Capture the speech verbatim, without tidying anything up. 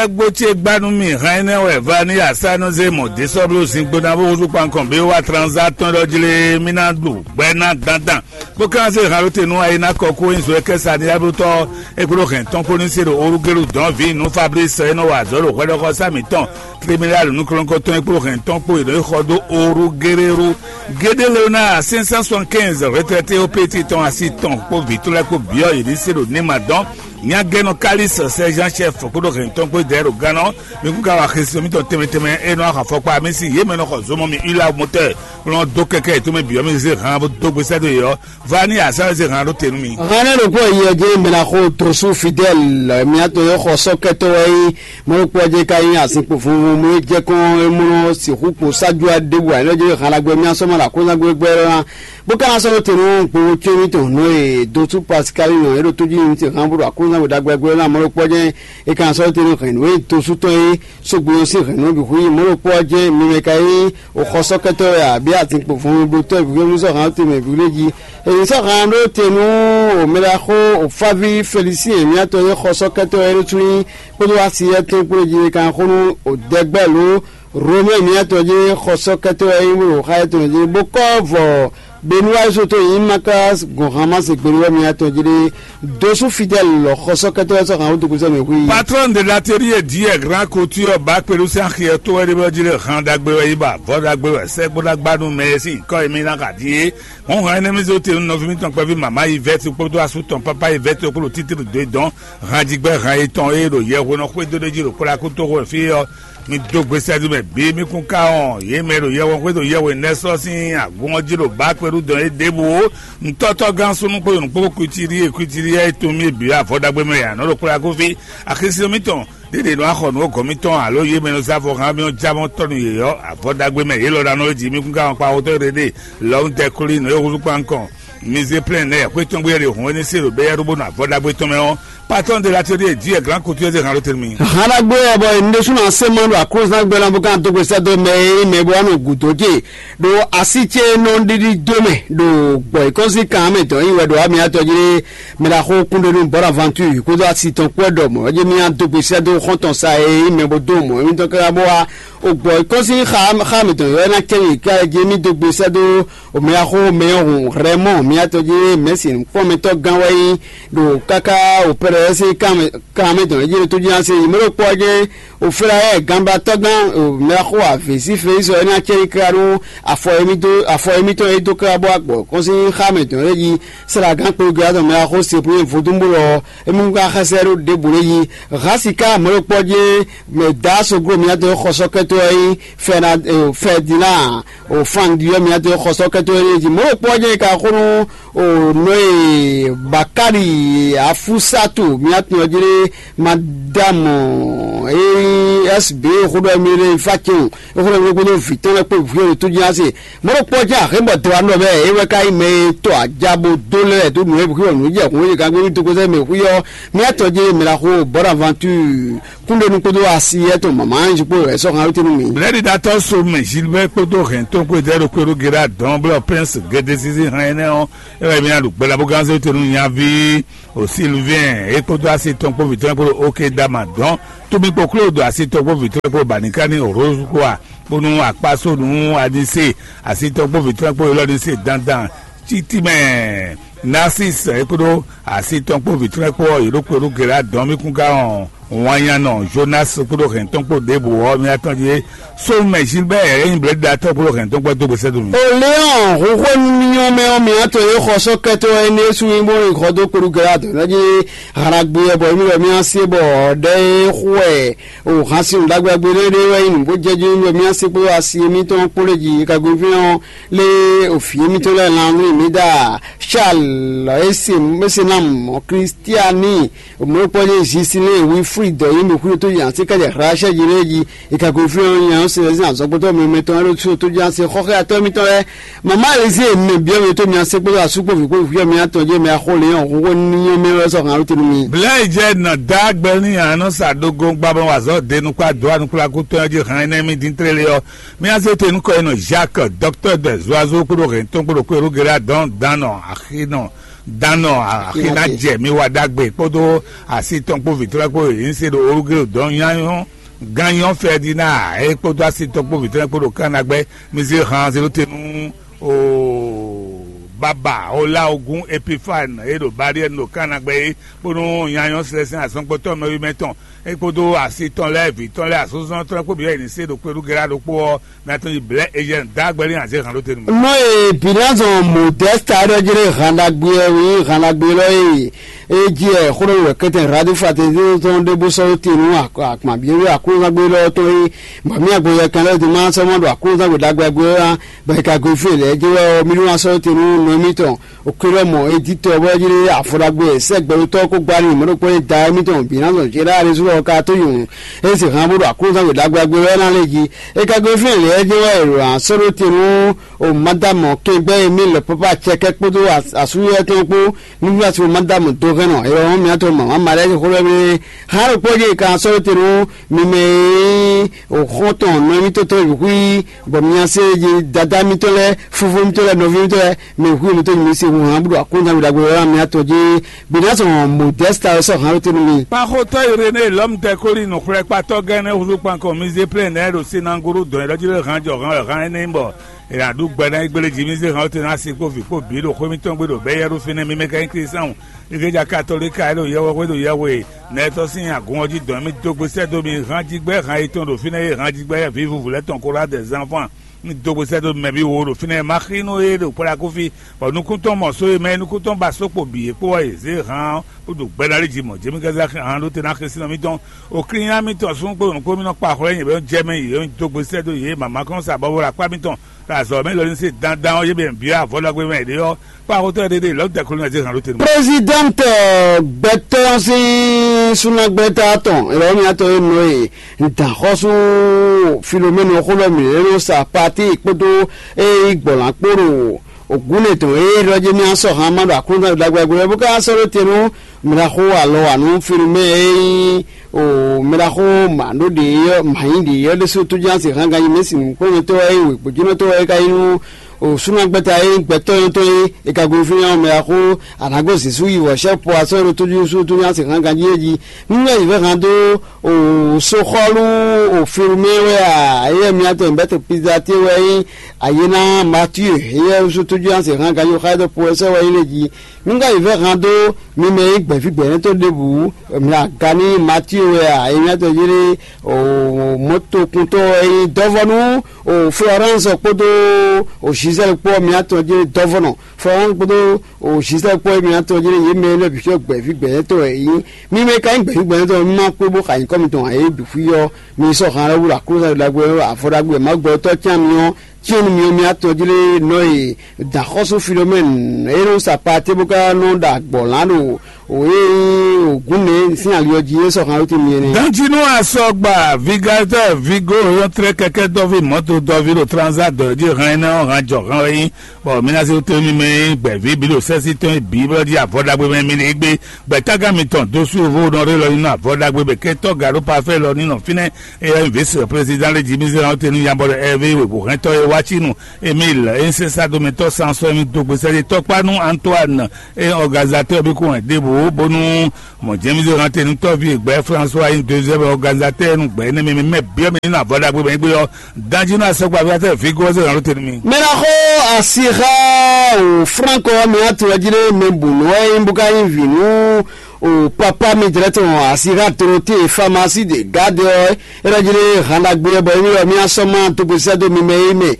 Agbo ce gba nú mì hɛn énɛ́ wɛ Vani Asánɔzé mɔ Desɔblu zingbo ná bó húzú kpankɔn bí wá tranzá tɔn ɖɔ jlé mì ná ɖu gbɛ ná dandan. Bó ka zé halo te nú ayi ná kɔ kó nyi zɔ kɛ sa ní ablutɔ é kúɖó hɛn tɔn kpó ní se ɖo orugelu dɔn vi nú Fabrice é nɔ wa azɔ̌ ɖo hwɛɖɔxɔ sá mǐtɔn. Tribunal nukɔnkɔtɔn é kúɖó hɛn tɔn kpó é nɔ xɔ dó orugeleru. Gédé Léonard cinq cent soixante-quinze retraité au petit tɔn asi tɔn kpó vǐ tɔn lɛ́ɛ kpó byɔ́ yě ní se ɖo ní ma dɔn. Nyagɛnɔ Kalis Sɛzan Chɛf kpódó hɛntɔn kpó dɛɛ ɖo gannɔ. Mi kún ka wa xesi mitɔn tɛnmɛ tɛnmɛ e nɔ axɔ afɔkpa mi sin yě mɛ nɔ xɔ zomɔ mi ila motɛ kplɔn dó kɛkɛ yětɔn mɛ bǐ ɔ́, mi zé han bó dó gbe sɛ́ dó yě ɔ́. Vani Asa zé han ɖó te nú mi. Hannɛ ɖokpó yi ɔ́ jɛ mɛ ná xo Tosu Fidɛl, miatɔn yɔ xɔ sɔkɛtɔ wɛ yi mɔɖokpɔ jɛ ka yi azinkpo funfun mɔ jɛ kɔn e mɔ sixú kpo sájú aɖébù ane jɛ halagbɛ mi asɔmɔ la kó ná gbɛgbɛ ná. Bó ka ná sɔ́ ɖó te nú gbowó có mítɔn nǔ e dó sú Pasikali nɔ é ɖo tójú ní te hán bó ɖo aklúnɔzángbe ɖagbe ná mɔ̌ ɖokpɔ́ jɛ́n. É ka ná sɔ́ ɖó te nú hɛ̌nnu e dó sú tɔn é sógbe ɔ́ sín hɛ̌nnu ɔ́ bǐ xwí mɔ̌ ɖokpɔ́ jɛ́n mi mɛ ka nyí òxɔsɔ́kɛtɔ́ wɛ abǐ azinkpo vɔngbodotɔ́ bǐ xwé mú sɔ́ hǎn te mɛ bǐ lé jí. È nǐ sɔ́ hǎn ɖó te nú òmɛɖaxó òfáví Felisín mǐtɔn e xɔsɔ́kɛtɔ́ wɛ é ɖó sú nyí kpódó asiyɛ́ tɔn kpó é jí é ka ná xó nú òdɛgbɛ́ lǒ Romɛ́ɛ mǐtɔn jí xɔsɔ́kɛtɔ́ wɛ é nyí bó ɖo xá étɔn jí bó kɔ́ vɔ Benuwáyísú tó nyí Makási gɔn Hamási gbeɖuwɛ mǐtɔn jí ɖé dosú Fidɛ́li lɔ xɔsɔ́kɛtɔ́ wɛ sɔ́ hǎn wútu kúsɛ́ mɛ hu yi. Patron de l'atelier dit grand couture ba kpeɖu sín axi ɔ́ tó wɛ ɖé bɔ jí ɖé han ɖagbe wɛ yi ba vɔ́ ɖagbe wɛ sɛ́gbó ɖagba nú mɛ e sín nyǐkɔ e mì ná xa ɖíe. Hɔn hɛn énɛ́ mì zé te nú nɔví mitɔn kpɛví mama yi vɛ́ti kpódó asú tɔn pápá yi vɛ́ti kpódó títí ɖo dó e dɔn. Hanjigbɛ han yětɔn e ɖo yɛhwenɔ xwedó ɖé jí ɖo kplákútoxo fí ɔ́, mi dó gbe sɛ́dó mɛ bǐ, mi kún ka wɔn yě mɛ ɖo yɛhwɛn xwedó yɛhwɛn nɛ́ sɔ́ sín agun ɔ́ jí ɖo bǎ kpɛɖú dɔn é ɖěbǔ ó. Nǔtɔ́tɔ́ gán súnnu kpó nyɔ̌nu kpó kwítírí e kwítírí é tunwun mì bǐ avɔ ɖagbe mɛ ya nɔ ɖo kplákú fí. Axisí mitɔn ɖěɖě nɔ axɔ nǔ gɔ̌ mitɔn alo yě mɛ nɔ zá afɔ hán mì ɔ́ já mɔ tɔ́ nú yě ɔ́, avɔ ɖagbe mɛ yě lɔ ɖa nɔ é jí mi kún ka wɔn kpa xotɔ́ ɖéɖé. Lɔmutɛ́ klí nǔ e húzú kpán kɔn. Mi zé plɛ́n nɛ́ xwé tɔn gbé ɖe hɔn énɛ́ se ɖo bɛ́yɛ́ɖóbónú avɔ ɖagbe tɔn mɛ ɔ́, patɔ́n de l'atelier dit grand couture de hàn lótel mi. Hàn ɖagbe ɔ́ bɔ ǹdésúnɔ asé mɔ ɖo aklúzán gbɛ́ ná bó ká dó gbe sɛ́ dó mɛ e nyí mɛ bó wá nɔ gǔdo ce ɖo así ce nɔ ɖiɖi dó mɛ ɖo gbɔ̌ yíkɔ́sí kan mɛ dɔn yí wɛ ɖo amyatɔ́ jí mɛ ɖo axó kúnɖénú Bonaventure kódó asi tɔn kpó ɖɔ mɔ̌ ɔ́ jí mì dó gbe sɛ́ dó xɔ́ntɔn sa e nyí mɛ bó dó mɔ̌ émítɔn káká bó wá o gbɔ̌ yíkɔ́sí xa mɛ tɔn yɔ́ ná cɛ́ yě ká jí mì dó gbe sɛ́ dó Omɛyaxó mɛ ɔ́ hun Rɛmɔ́ɔ mǐtɔn jí mɛ̌si nǔkpɔ́nmɛtɔ́ gán wɛ nyí ɖo káká Opɛ́rɛ́ sín kan mɛ tɔn Ejíptu jí ná se yi mɔ̌ ɖokpó ɔ́ jɛ́n Oflayɛ́ɛ ganbatɔ́gán Omɛyaxó avǐ sín Felísi ɔ́ ná cɛ́ yi káká nú afɔ e mì dó afɔ e mǐtɔn e dó káká bó wá gbɔ kɔn sín xá mɛ tɔn é jí Slágán kpódó Gilátɔn mɛyaxó Seplúnyɛ vodúnbúlɔ ɔ́, émí ka xɛsɛ ɖó ɖěbǔ lé yi. Hǎn siká mɔ̌ ɖokpó ɔ́ jí mɛ dǎ sogló mǐtɔn e xɔsɔ́kɛ́tɔ́ ɔ́ nyí Fɛdinaa o fan ɖiɖɔ mǐtɔn e xɔsɔ́kɛ́tɔ́ énɛ́ jí mɔ̌ ɖokpó ɔ́ jɛ́n ka xó nú o nɔ e Bakali Afusatu mǐtɔn ɔ́ jí ɖé madamu e S B xó ɖɔ mí ɖé fa cɛn o e xó ɖɔ mí ɖé kpódó vǐ tɔn lɛ́ɛ kpó vǐ ɖo tó jí ase mɔ̌ ɖokpó ɔ́ jɛ́n axé bɔ dɔwá nɔ bɛ é wɛ ka nyí mɛ e tɔ aja bó dó lɛ́ dó nǔ e xwí ɔ́ nǔ jɛ hǔn e ka gbé mí dó kó sɛ́ mɛ xwí ɔ́ mǐtɔn jí mǐ ná xó Bonaventure kúnɖénú kpódó asi yɛ́ tɔn mama anyi kpó wɛ sɔ́ hán wítí nú mi. Blɛ̌ɖiɖatɔ́ so mɛ Gilbert kpódó hɛn tó kpó dɛ́ ɖo kpé ɖó Gérard dɔn blɔ prince gédésísí hɛn énɛ́ ɔ́, é wɛ mí ná ɖu gbɛ́ ɖa bó gán zé wítí nú nyaví o Sylvain é kpódó asi tɔn kpó vǐ tɔn kpódó oké dama dɔn. Tómi kpó kló do asi tɔn kpó vǐ tɔn kpó banikani Rose kpó a kpónú akpásó nú anise asi tɔn kpó vǐ tɔn kpó élɔ́ anise dandan títí mɛ Narcisse é kpódó asi tɔn kpó vǐ tɔn kpó ɔ́ yě ɖo kpé ɖó Gérard dɔn mí kún gán ɔ́. Wanyanɔ Jonas kpódó hɛn tɔn kpó ɖěbǔ ɔ́ mí atɔn jí Sómɛ Gilbert é nyí blɛ̌ɖiɖatɔ́ kpódó hɛn tɔn kpó dó gbèsè dó mi. Léon huhwenu miyɔn mɛ ɔ́ mǐ atɔn e xɔ sɔ́ kɛtɔ wɛ énɛ́ sú nyí bó nyí xɔ dó kpódó Gérard dɔn jí halagbé ɔ́ bɔ émí wɛ mí asi bɔ ɖɛ e xú wɛ o hǎn sin ɖagbe ɖagbe ɖé ɖé wɛ nyí nǔ bó jɛ jí wɛ mí asi kpódó asi émítɔn kpó lé jí kagbéfín ɔ́ lé òfin émítɔn lɛ́ɛ lan nú mí dá Charles esi esi nam Christiani Mɔ̌kpɔ́ ní Zisilɛ́ɛ Wilfrid dɔ yí mɛ xwé tó yi asi ká jɛ Rachel jí lé jí. Ìkàkùn fí ɔ́ nya ɔ́ se lɛ́ sín azɔ̌gbɔ́tɔ́ mɛ mɛtɔn ɛ́ ɖó sú tó jẹ́ ase xɔxɛ atɔ́ mitɔn lɛ́ɛ. Mama Elize mɛ byɔ́ mɛ tó mi ase kpódó asúkpó vǐ kpó vǐ ɔ́ mi atɔn jẹ́ mɛ axó lě ɔ́ xóxó ní nyɔ́ mɛ wɛ sɔ́ hǎn ló tenu mi. Blɛ̌ yi jɛ nɔ dá gbɛ ní anɔ sa ɖogo gbabɔ wazɔ de nukpa do anukplaku tɔn jí hàn ɛnɛ mi dín tlélé ɔ́. Mi ase te nukɔ yi nɔ Jacques, docteur de Zoiseau kpódó hɛn tɔn kpódó kpéɖó gɛlá dɔn dan nɔ axi nɔ Dán nɔ axi ná jɛ mì wa ɖagbe kpódó asi tɔn kpó vǐ tɔn lɛ́ɛ kpó yě se ɖo olúgéɖo dɔn nyányɔ́ gán nyɔ́ Fɛdina é kpódó asi tɔn kpó vǐ tɔn lɛ́ɛ kpó ɖo Kánagbɛ́. Mi zé han zéɖótenu o baba ola ogun Epifane é ɖo Bariɛ́nu ɖo Kánagbɛ́ é, bónú nyányɔ́ Slɛsɛn azɔngbɔtɔ́ mɛwimɛ tɔn é kpódó asi tɔn lɛ́ɛ vǐ tɔn lɛ́ɛ asúzɔ́ tɔn lɛ́ɛ kpó bǐ wɛ è nǐ se ɖo kpéɖú Gɛ́lá ɖokpó ɔ́, mɛ atɔn yi blɛ̌ Ezyɛ́ni dó agbɛ́ n'i azě hǎn ɖó te nú mì. Nɔ e Binazɔn Modɛ́sta ɖɔ jlé han ɖagbe wɛ nyí han ɖagbe élɔ́ e é jí wɛ xó ɖɔ wɛ kɛ́tɛn Radifatɛ́n tɔn ɖé bó sɔ́ dó te nú akpǎn byɔ́byɔ́ Aklúnɔzán gbe élɔ́ tɔn é, bɔ mì agbɔjɛkan lɛ́ɛ ɖo ma sɔ́ mɔ ɖo Aklúnɔzán gbe ɖagbe ɔ́ ná, bɔ è ka gosín lɛ̌ jɛ wɛ ɔ́, mì ɖó ná sɔ́ dó te nú nɔ émítɔn. Oklɔmɔ editɔ bɔ jlé afɔ ɖagbe sɛgbɛɖotɔ́ kó gbá n'i mɔ̌ ɖokpó e da émítɔn Binazɔn Jeráa Rézulɔ ka tó nyɔ̌nu. É se hǎn bó ɖo Aklúnɔzán gbe ɖagbe ɖagbe wɛ ná lé jí. É ka gosín lɛ̌ jɛ wɛ è ɖo ná sɔ́ ɖó te nú o Madamɔ kɛngbɛ́ e mì lɛ pɔ́pá acɛkɛ́ kpódó asúyɔ tɔn kpó. Nǔgbàsí o Madamɔ dó hɛn nɔ, è lɔ mì atɔ mama ma lɛ́ xó lɛ́ mɛ. Hán ɖokpó jɛ è ka sɔ́ te nú mi mɛ e o xɔ́ntɔn nɔ émítɔn tɔn yǔxwí, bɔ mi nya se jí dada mitɔn lɛ́ɛ, fúfú mitɔn lɛ́ɛ, nɔví mitɔn lɛ́ɛ, mɛ hu mitɔn nyi mi se hu hán búɖo akɔ́nta mi ɖagbe wɛ mi atɔ jí. Binazɔn Modɛsta wɛ sɔ́ hán te nú mi. Kpaxotɔ́ Irené lɔmtɛkoli nɔxwlɛ́kpatɔ́ gɛ́nɛ́ húzú kpankɔ mi zé plɛ́n nɛ́ ɖo sinagolo dɔn e ɖɔ jí lé hán jɔ hán wɛ hán énɛ́ nyí bɔ è nǎ ɖu gbɛ ná yi gbélé jí mì zé hán te ná si kpó vǐ kpó bǐ ɖo xwé mǐtɔn gbe ɖo bɛ́ yɛ́ ɖó fínɛ́. Mì mɛ ka nyí Klísáhùn, igleja katolíka e ɖo yɛhwexwé ɖo yɛhwe nɛtɔ́ sín agun ɔ́ jí dɔn mì dó gbe sɛ́ dó mi hán jí gbɛ́ hán yětɔn ɖo fínɛ́ e hán jí gbɛ́ vǐ vuvu lɛ́ɛ tɔn kó ɖó adɛ̌ zán fán. Mì dó gbe sɛ́ dó mɛ bǐ wo ɖo fínɛ́, ma xínú e ɖo kplá kúfí, bɔ nukún tɔn mɔ só e mɛ e nukún tɔn ba só kpo bǐ é kpó wɛ yě zé hán bó ɖo gbɛ ná lí jí mɔ̌. Jěmí kánsá hán ɖó te ná xɛsínɔ mítɔn. Oklínya mítɔn súnnu kpó nǔkpó mì nɔ kpa xwlɛ́ nyě bɔ é nɔ jɛ mɛ yě, é nɔ dó gbe sɛ́ dó yě, mǎmá kɔn sa bɔbɔ ɖo akpá mǐtɔn. Ɖo azɔ̌ mɛ lɔlí se dandan ɔ́, yě bɛ byɔ́ avɔ ɖagbe mɛ yě ɖe ɔ́, kpá xótɔ́ ɖé ɖe lɔ̌ dɛkolo nya zé hǎn ɖó te nú. Prezidɛnti gbɛtɔ́ sín súnnagbɛ́ta tɔn Elɔmiatɔ́ e nɔ e dǎnxɔ́sú Filomɛ́nu xó lɔ mǐ lɛ́ nɔ sa Paati kpódó e yí gbɔ̌lán kpó ɖo ògúnlé tɔn e ɖɔ jɛ mì asɔ hǎn ma ɖo Aklúnɔzán ɖagbe ɖagbe bó ka sɔ́ ɖó te nú mǐ ná xo alɔ wa nú Filomɛ́ e nyí o mɛ ɖaxó mǎ ɖó ɖě ɔ́, mǎ nyí ɖě ɔ́ ɖésú tójúnásì hán ganjí mɛ sin nǔkplɔ́nmɛtɔ́ wɛ é, wěgbójínɔtɔ́ wɛ é ka nyí nú o súnnagbɛ́ta e nyí gbɛtɔ́ nyɔ́tɔn é, è ka gosín ɔ́ mɛ ɖaxó Anǎgó Zěsu yi wɔ̌xɛ́pɔ asɔ́ ɖo tójúsú tójúnásì hán ganjí é jí. Nú wɛ yǐvɛ́ hán dó o soxɔ́lú o filmɛ wɛ a, éyɛ́ miatɔn bɛ́tɛ pizate wɛ nyí ayéná Matíe, éyɛ́ sú tójúnásì hán ganjí xá dó po wɛ sɔ́ wɛ nyí lé jí. Nú wɛ yǐvɛ́ hán dó mi mɛ e nyí gbɛ̌ví gbɛ̌nɛ́tɔ́ ɖěbǔ, mi aga ní Matíe wɛ a, e miatɔn jlé o mɔtokuntɔ́ e nyí dɔ́vɔ́nú o Florence kpódó o Gisèle kpó miatɔn jlé dɔ́vɔ́nɔ. Florence kpódó o Gisèle kpó e miatɔn jlé yě mɛ énɛ́ bǐ sɔ́ gbɛ̌ví gbɛ̌nɛ́tɔ́ wɛ yě nyí. Mi mɛ ka nyí gbɛ̌ví gbɛ̌nɛ́tɔ́, mi ma kpé bó xa nyǐkɔ mitɔn ǎ é bǐ xwí ɔ́, mi sɔ́ han lɔ́ wú ɖo aklúzu ɖagbe ɔ́, avɔ ɖagbe e Mawu gbɛtɔ́ cyán mi ɔ́, cyɔ́n nú mi ɔ́, mi atɔn jlé nɔ e dǎnxɔ́sú Filomɛ́nu e nɔ sa Paatée bó ka nɔ ɖo agbɔ̌ lán ɖo wǒ e nyí ògúnmɛ sín ali ɔ́ jí é sɔ́ han wú ti mi é nɛ́. Danjinu asɔgba vigatɔ vigo yɔntrɛ kɛkɛ dɔvi mɔto dɔvi ɖo transa dɔ jí hɛn énɛ́ ɔ́ han jɔ hɛn wɛ nyí, bɔ mi ná se wútu mi mɛ nyí gbɛ̌ví bǐ ɖo sɛ́sí tɔn e bǐ bɔ jí avɔ ɖagbe mɛ mi ɖe gbé. Gbɛ̌tágán mitɔn dó sú vo nɔ ɖé lɔ nyi nɔ avɔ ɖagbe bɛ kɛ tɔ́ ga ɖó pafɛ lɔ ní nɔ fínɛ́. Eyɛ́ nyí vǐsi président lé jí mi zé hɔn te nú yabɔ ɖo ɛvé wěwú hɛntɔ́ e wá cí nú Emile e nyí sɛ́sádomɛtɔ́ sansɔ́ e mi dó gbe sɛ́ ɖé tɔkpá nú Antoine e nyí organisateur bí kún wɛ ɖěbǔ bónú mɔ̌ jɛ́n mi zé hɔn te nú tɔ́ví e gbɛ́ François e nyí deuxième organisateur nú gbɛ̌ énɛ́ mɛ mi mɛ byɔ́ mi nú avɔ ɖagbe mɛ gbé ɔ́. Danjinu asɔgbaví atɛ vǐ gɔ́ zé hɔn te nú mi. Mɛ ná xó asi xá o Franco mi atɔ jí ɖé mɛ bǔ nɔ ɛ nyí bó ká nyí vǐ nú o papa mi jlɛ tɔn asi xá Dorothée pharmacie de garde ɔ́. É ɖɔ jí ɖé hǎn ɖagbe lɛ́ɛ bɔ émí wɛ mí asɔ́ má dó gbe sɛ́ dó mi mɛ é mɛ.